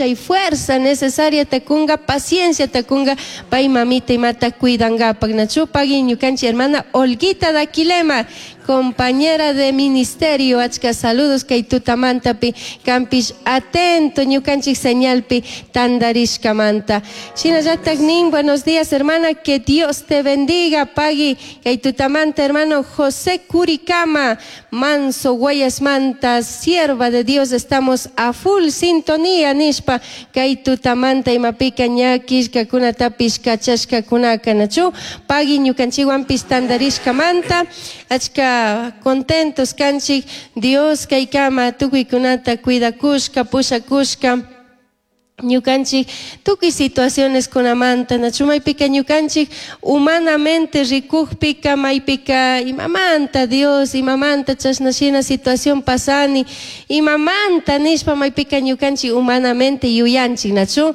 chay fuerza necesariata kunga, pacienciata kunga pay mamita imata cuidangapak. Nachu pagui ñukanchik hermana Olguita Daquilema, compañera de ministerio, achka saludos kay tutamantapi kanpish atento ñukanchik señalpi tandarishkamanta. Shinallatak nin, buenos días, hermana, que Dios te bendiga, pagui kay tutamanta hermano José Curicama, Manso Guayasmanta, sierva de Dios, estamos a full sintonía nishpa kay tutamanta imapika ña killkakunatapish kachashkakunaka, nachu pagui ñukanchikwanpish tandarishkamanta achka contentos kanchik Dios kaykama tukuykunata cuidakushka, pushakushka ñukanchik tukuy situaciones kunamanta, nachu maypika ñukanchik humanamente rikukpika maypika imamanta Dios, imamanta chashna shina situación pasani, imamanta nishpa maypika ñukanchik humanamente yuyanchik, nachu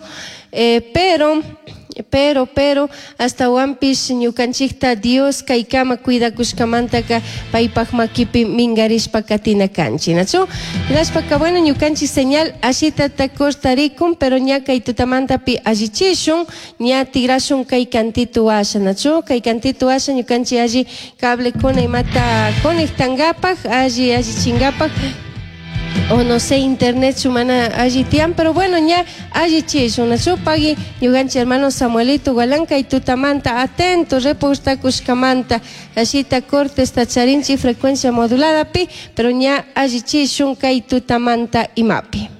pero ashtawanpish ñukanchikta Dios kaykama cuidakushkamantaka paypak makipi mingarishpa katina kanchik, nachu. Hinashpaka bueno, ñukanchik señal ashitata cortarikun, pero ña kay tutamantapi allichishun, ña tigrashun kay kantitu washa, nachu kay kantitu washa ñukanchik alli cablekuna imata conectangapak, alli allichingapak, o no sé, internet mana alli tiyan, pero bueno, ña allichishun, nachu pagui ñukanchik hermano Samuelito Gualán kay tutamanta atento reportakushkamanta ashita cortes charinchik frecuencia moduladapi, pero ña allichishun kay tutamanta imapi.